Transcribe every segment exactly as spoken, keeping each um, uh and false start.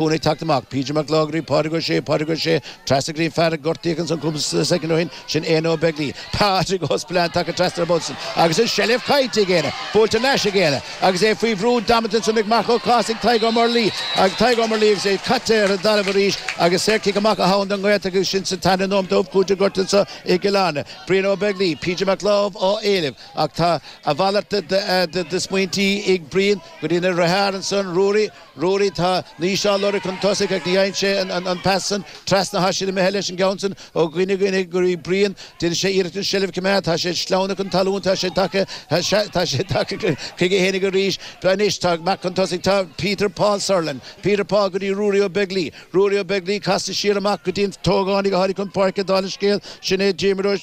Ag teacht amach, PJ Mac Láimh, Pádraig Ó Sé, Pádraig Ó Sé, trasna go dtí fear a gortaíodh ansan cúpla soicind ó shin, sin Éanna Ó Beaglaoi. Pádraig Ó Spillane tagtha trasna ar an bpost agus an seilbh caillte ag Éanna, buailte thar n-ais ag Éanna agus é faoi bhrú damanta ansan ag Marc Ó Cathasaigh, Tadhg Ó Murlaí agus Tadhg Ó Murlaí agus é caite ar an dtalamh arís agus saorchic amach atá ann don Ghaeltacht agus sin sa tarna nóiméad d'am cúitimh gorta anso i gCill Airne. Brian Ó Beaglaoi, PJ Mac Láimh á éileamh ach tá a mhalairt de smaointí ag Brian go dtí na deartháir ansan, Ruairí, Ruairí, tá Naoise á lorg chun tosaigh ach ní fhaigheann sé an pas san. Trasna atá siad imithe leis an gceann san ó dhuine dhuine go dtí Brian. Déanann sé iarracht an seilbh a choimeád. Tá sé sleamhnaithe chun talún. Tá sé tagtha tá sé tagtha chuige fhéinig arís. Anois tá amach chun tosaigh tá Peter Paul Sutherland. Peter Paul go dtí Ruairí Ó Beaglaoi. Ruairí Ó Beaglaoi casta siar amach go dtí an t-ógánach a tháinig chun páirce dála an scéil. Sin é Diarmuid Ó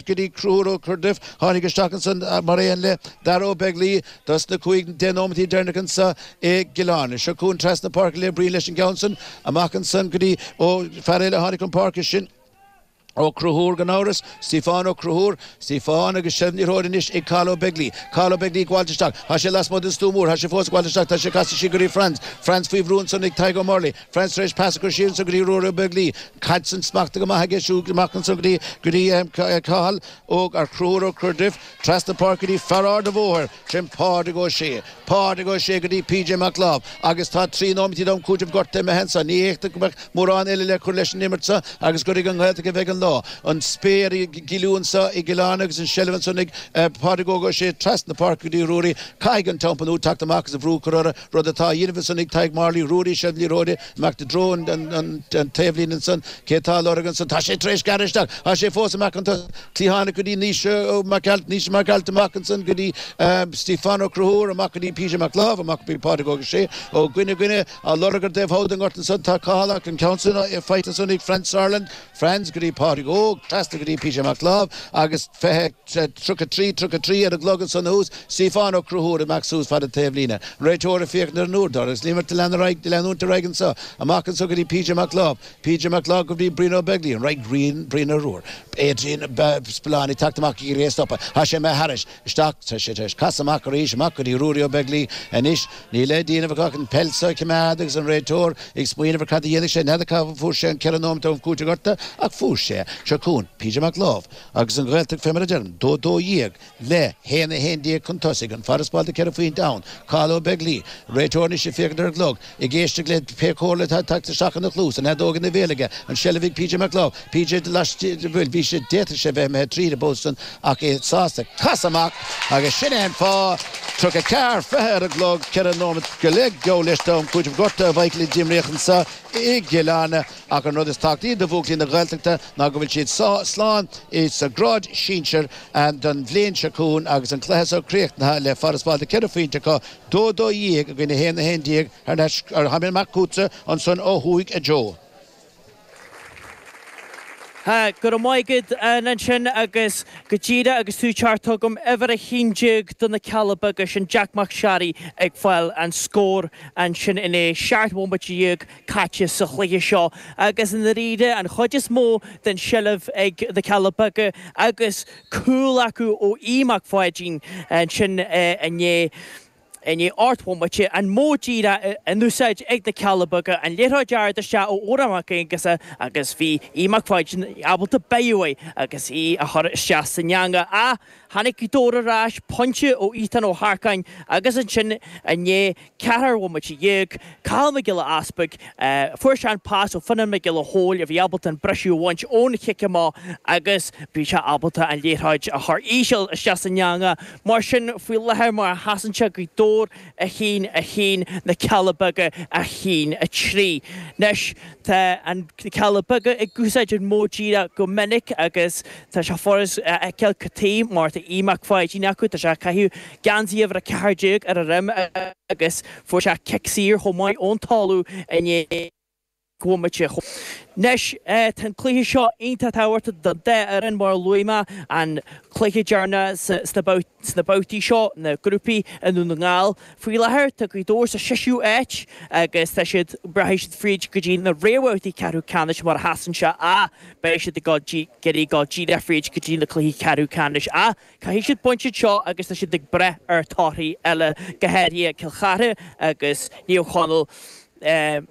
go dtí Conchúr Ó Corduff. Tháinig isteach ansan mar aon le Dara Ó Beaglaoi dos na cúig deich nóimeataí deireanacha anso i gCill Airne. Seo chugainn trasna páirce le Brian leis an gceann san amach ansan go dtí ó fear eile a tháinig chun páirce sin Ó Conchúir gan amhras, Stiofán Ó Conchúir, Stiofán agus seilbh na liathróide anois ag Cathal Ó Beaglaoi, Cathal Ó Beaglaoi ag gabháilt isteach, tá sé lasmuigh den stua mór, tá sé fós ag gabháilt isteach, tá sé casta siar go dtí Franz, Franz faoi bhrú ansan ag Tadhg Ó Murlaí, Franz tar éis pas a chur siar ansan go dtí Ruairí Ó Beaglaoi, caid san smachtaithe go maith aige siúd amach ansan go dtí go dtí Cathal Ó Conchúir Ó Corduff, trasna páirce go dtí fear Ard a' Bhóthair, sin Pádraig Ó Sé, Pádraig Ó Sé go dtí PJ Mac Láimh agus tá trí nóiméad d'am cúitimh gorta imithe anso. Ní fhéadfadh go mbeadh mórán eile le cur leis an imirt seo agus gur ag an nGaeltacht a bheidh an lá. An spéir ag gilú anso i gCill Airne agus an seilbh ansan ag Pádraig Óg Ó Sé trasna páirce go dtí Ruairí. Caithfidh an Teampall Nua teacht amach agus an bhrú a chur orthu, rud atá á dhéanamh ansan ag Tadhg Morley. Ruairí seilbh na liathróide amach i dtreo an taobhlíne ansan. Cé atá á lorg ansan? Tá sé tar éis gearradh isteach. Tá sé fós amach an cliathánach go dtí Naoise Mac Ailt, Naoise Mac Ailt amach ansan go dtí Stiofán Ó Conchúir, amach go dtí PJ Mac Láimh, amach go dtí Pádraig Óg Ó Sé ó dhuine dhuine á lorg ar dtaobh thall den ngort ansan tá Cathal ach an ceann san faighte ansan ag Franz Sutherland, Franz go dtí Pádraig Óg, trasna go dtí PJ Mac Láimh agus fiche tríocha trí tríocha trí ar an gclog ansan thuas, Stiofán Ó Conchúir amach suas fad an taobhlíne. An réiteoir ag féachaint ar an uaireadóir agus an imirt ag lean ar aghaidh, leanúint ar aghaidh anso, amach anso go dtí PJ Mac Láimh, PJ Mac Láimh go dtí Brian Ó Beaglaoi, an raibh Brian, Brian Ó Adrian Spillane ag teacht amach ag iarraidh é a stopadh. Tá sé imithe thairis. Isteach. Tá sé tar éis casadh amach arís, amach go dtí Ruairí Ó Beaglaoi anois. Níl le déanamh acu ach an peil seo a choimeád agus an réiteoir ag smaoineamh ar cad a dhéanfaidh sé. N'fheadar cá bhfuair sé an ceithre nóiméad am cúitimh gorta ach fuair sé. Seo chugainn PJ Mac Láimh agus an Ghaeltacht fé mar a deirim, dó dó dhéag le haon a haon déag chun tosaigh. An farasbarr de ceithre phointe ann. Cathal Ó Beaglaoi, réiteoir anois ag féachaint ar an gclog. Ag éisteacht le pé comhairle atá ag teacht isteach ina chluas, an fheadóg ina bhéal aige, an seilbh ag PJ Mac Láimh, PJ laistigh, bhuel, bhí sé, d'fhéadfadh sé bheith imithe tríd an bpost san ach é sásta casadh amach agus sin é an fáth, tríocha ceathair, fiche ar an gclog, ceithre nóiméad go leith geall leis d'am cúitimh gorta a Mhichael a d'imríodh anso i gCill Airne ach an rud is tábhachtaí do bhuachaillí na Gaeltachta ná go bhfuil siad slán sa grád sinsir don bhliain seo chugainn agus an cluiche seo críochnaithe le farasbarr de ceithre phointe acu, dó dó dhéag i gcoinne haon a haon déag thar n-ais ar tháinig amach chugatsa ansan ó thuaidh a Joe. Go raibh maith agat ansin agus go díreach agus tú ag teacht chugam, uimhir a haon déag do na Cealla Beaga, sin Jack Mac Searraigh ag fáil an scór ansin i ndiaidh seacht bhomaite dhéag caite sa chluiche seo agus i ndáiríre an chuid is mó den tseilbh ag na Cealla Beaga agus cúl acu ó Aodh Mac Pháidín ansin i ndiaidh i ndiaidh ocht bhomaite, an modh díreach in úsáid ag na Cealla Beaga, an liathróid ard isteach ó Odhrán Mac Aonghusa agus bhí Aodh Mac Pháidín ábalta beith uaidh agus í a chur isteach san eangach. Ach tháinig Gaoth Dobhair ar ais, pointe ó Ethan Ó hEarcáin agus ansin i ndiaidh ceathair bhomaite dhéag, Cathal Mac Giolla Easpaig, fuair sé an pas ó Fionnán Mac Giolla Chóill a bhí ábalta an briseadh a bhaint ón chic amach agus bhí sé ábalta an liathróid a chur íseal isteach san eangach. Mar sin, faoi láthair, mar a sheasann sé, Gaoth Dobhair a haon, a haon, Na Cealla Beaga a haon, a trí. Anois, tá an Na Cealla Beaga ag úsáid an modh díreach go minic agus tá sé furast a fheiceáil cad chuige mar tá Aodh Mac Pháidín acu, tá sé ag caitheamh geansaí uimhir a ceathair déag ar a dhroim agus fuair sé cic saor chomh maith ón talamh inné. bhomaite. Anois, tá an cluiche seo iontach tábhachtach don dá fhoireann, mar a luaigh mé, an cluiche deireanach sna babhtaí seo, na grúpaí i nDún na nGall. Faoi láthair, tá Gaoth Dobhair sa seisiú áit agus tá siad, rachaidh siad fríd go dtí na réamhbhabhtaí ceathrú ceannais mar a sheasann sé ach beidh siad ag iarraidh dul díreach fríd go dtí na cluichí ceathrú ceannais. Ach caithfidh siad baint anseo agus tá siad ag brath ar torthaí eile, go háirithe Cill Chartha agus Naomh Chonaill.